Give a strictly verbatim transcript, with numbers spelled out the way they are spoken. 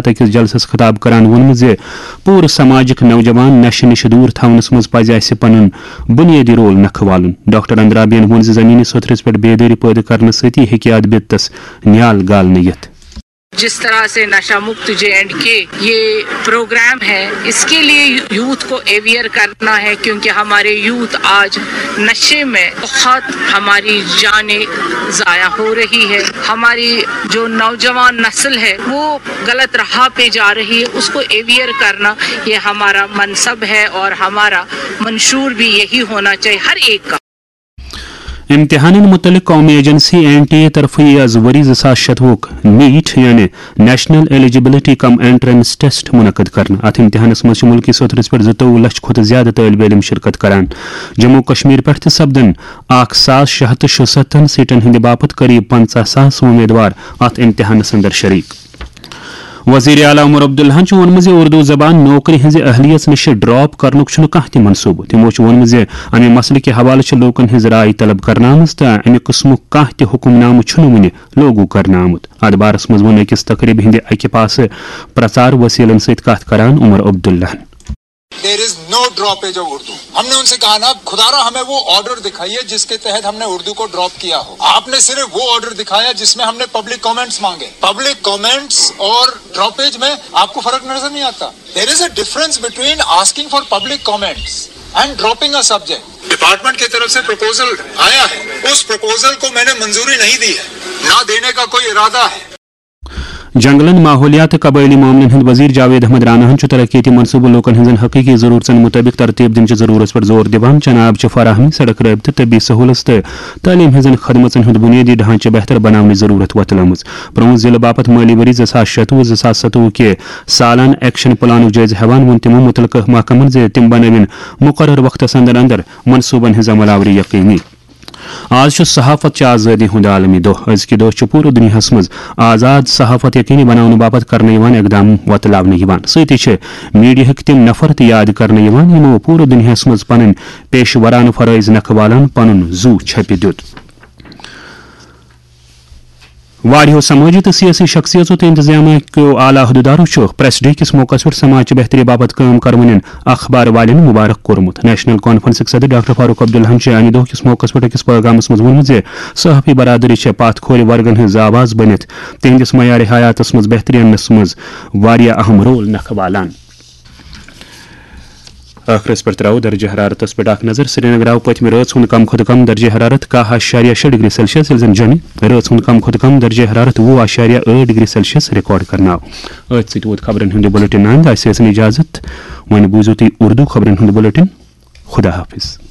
أکِس جلسس خطاب کران ووٚنمُت زِ پوٗرٕ سماجٕکۍ نوجوان نشہٕ نِش دوٗر تھاونس منٛز پزِ اسہِ پنُن بُنیٲدی رول نکھٕ والُن۔ ڈاکٹر اندرابیَن ووٚن زِ زمینی سطحس پٮ۪ٹھ بیدٲری پٲدٕ کرنہٕ سۭتی ہیٚکہِ اتھ بِدتس نیال گالنہٕ یِتھ۔ جس طرح سے نشہ مکت جے اینڈ کے یہ پروگرام ہے، اس کے لیے یوتھ کو اویئر کرنا ہے، کیونکہ ہمارے یوتھ آج نشے میں بہت، ہماری جانیں ضائع ہو رہی ہے، ہماری جو نوجوان نسل ہے وہ غلط راہ پہ جا رہی ہے، اس کو اویئر کرنا یہ ہمارا منصب ہے اور ہمارا منشور بھی یہی ہونا چاہیے ہر ایک کا۔ امتحانن متعلق قومی ایجنسی این ٹی اے طرفہٕ یِیہِ از ؤری زٕ ساس شتوُہُک نیٹ یعنی نیشنل ایلیجیبلٹی کم انٹرنس ٹیسٹ منعقد کرنہٕ۔ اتھ امتحانس منٛز چھِ مُلکی سطحس پٮ۪ٹھ زٕتووُہ لچھ کھۄتہٕ زیادٕ طٲلبہِ علم شرکت کران۔ جموں و کشمیر پٮ۪ٹھ تہِ سپدن اکھ ساس شےٚ ہتھ تہٕ شُستتھن سیٹن ہٕنٛدِ باپتھ قریب پنژاہ ساس وۄمیدوار اتھ امتحانس اندر شریک۔ وزیر اعلیٰ عمر عبداللہن چھُ ووٚنمُت زِ اردو زبان نوکری ہٕنٛزِ اہلیت نِش ڈراپ کرنُک چھُنہٕ کانٛہہ تہِ منصوبہٕ۔ تِمو چھُ ووٚنمُت زِ امہِ مسلہٕ کہِ حوالہٕ چھِ لوٗکن ہٕنٛز راے طلب کرنہٕ آمٕژ تہٕ امہِ قٕسمُک کانٛہہ تہِ حکم نامہٕ چھُنہٕ وُنہِ لوگو کرنہٕ آمُت۔ اتھ بارس منٛز ووٚن أکِس تقریبہِ ہٕنٛدِ اکہِ پاسہٕ پرچار وسیلن سۭتۍ کتھ کران عمر عبداللہن۔ There is no droppage of Urdu. हमने उनसे कहा ना, खुदारा हमें वो ऑर्डर दिखाइए जिसके तहत हमने उर्दू को ड्रॉप किया हो। आपने सिर्फ वो ऑर्डर दिखाया जिसमें हमने पब्लिक कमेंट्स मांगे। पब्लिक कमेंट्स और ड्रॉपेज में आपको फर्क नजर नहीं आता? There is a difference between asking for public comments and dropping a subject. Department की तरफ से प्रपोजल आया है, उस प्रपोजल को मैंने मंजूरी नहीं दी है, ना देने का कोई इरादा है। جنگلن، ماحولیات تہٕ قبٲئلی معاملن ہٕنٛدۍ وزیر جاوید احمد راناہن چھُ ترقیتی منصوبہٕ لوٗکن ہٕنٛزن حقیقی ضروٗرژن مُطٲبِق ترتیٖب دِنٕچہِ ضروٗرژ پٮ۪ٹھ زور دِوان۔ جناب چھِ فراہمی، سڑک رٲبطہٕ، طبی سہوٗلژ تہٕ تعلیٖم ہٕنٛزن خدمژن ہُنٛد بُنیٲدی ڈھانچہٕ بہتر بناونٕچ ضروٗرت وۄتلٲومٕژ۔ پرٛٲنۍ ضلعہٕ باپتھ مٲلی ؤری زٕ ساس شتوُہ زٕ ساس ستوُہ کہِ سالانہٕ ایکشن پلانُک جٲیزٕ ہٮ۪وان ووٚن تِمو مُتعلقہٕ محکمن زِ تِم بنٲوِن مُقرر وقتس اندر اندر منصوٗبن ہٕنٛز عمل آوری یقینی۔ آز چھُ صحافت چہِ آزٲدی ہُنٛد عالمی دۄہ۔ أزکہِ دۄہ چھُ پوٗرٕ دُنیاہَس منٛز آزاد صحافت یقینی بناونہٕ باپتھ کرنہٕ یِوان اقدام وۄتلاونہٕ یِوان۔ سۭتی چھِ میڈیاہٕکۍ تِم نفر تہِ یاد کرنہٕ یِوان، یِمو پوٗرٕ دُنیاہَس منٛز پنٕنۍ پیشہٕ ورانہٕ فرٲیض نکھٕ والان پنُن زُو چھپہِ دیُت۔ واریاہو سمٲجی تہٕ سیٲسی شخصیژو تہٕ انتظامیہ کیو اعلیٰ عہدٕدارو چھُ پریس ڈے کِس موقعس پٮ۪ٹھ سماج چہِ بہتری باپتھ کٲم کرونٮ۪ن اخبار والٮ۪ن مبارک کوٚرمُت۔ نیشنل کانفرنسٕکۍ صدر ڈاکٹر فاروق عبداللہن چھُ امہِ دۄہ کِس موقعس پٮ۪ٹھ أکِس پٲغامس منٛز ووٚنمُت زِ صحافی برادری چھےٚ پتھ کھورِ ورگن ہٕنٛز آواز بٔنِتھ تِہنٛدِس معیارِ حیاتس منٛز بہتری اننس منٛز واریاہ اہم رول نکھٕ والان۔ ٲخرس پٮ۪ٹھ ترٛاوو درجہ حرارتس پٮ۪ٹھ اکھ نظر۔ سرینگر آو پٔتمہِ رٲژ ہُنٛد کم کھۄتہٕ کم درجہ حرارت کاہ اَشاریہ شےٚ ڈگری سیلسیس، ییٚلہِ زن جوٚمہِ رٲژ ہُنٛد کم کھۄتہٕ کم درجہ حرارت وُہ اَشاریہ ٲٹھ ڈگری سیلسیس ریکارڈ کرنہٕ آو۔ أتھۍ سۭتۍ ووت خبرن ہُنٛد یہِ بُلٹن اند۔ اسہِ ٲسِن اجازت، وۄنۍ بوٗزِو تُہۍ اردو خبرن ہُنٛد بُلٹن۔ خدا حافظ۔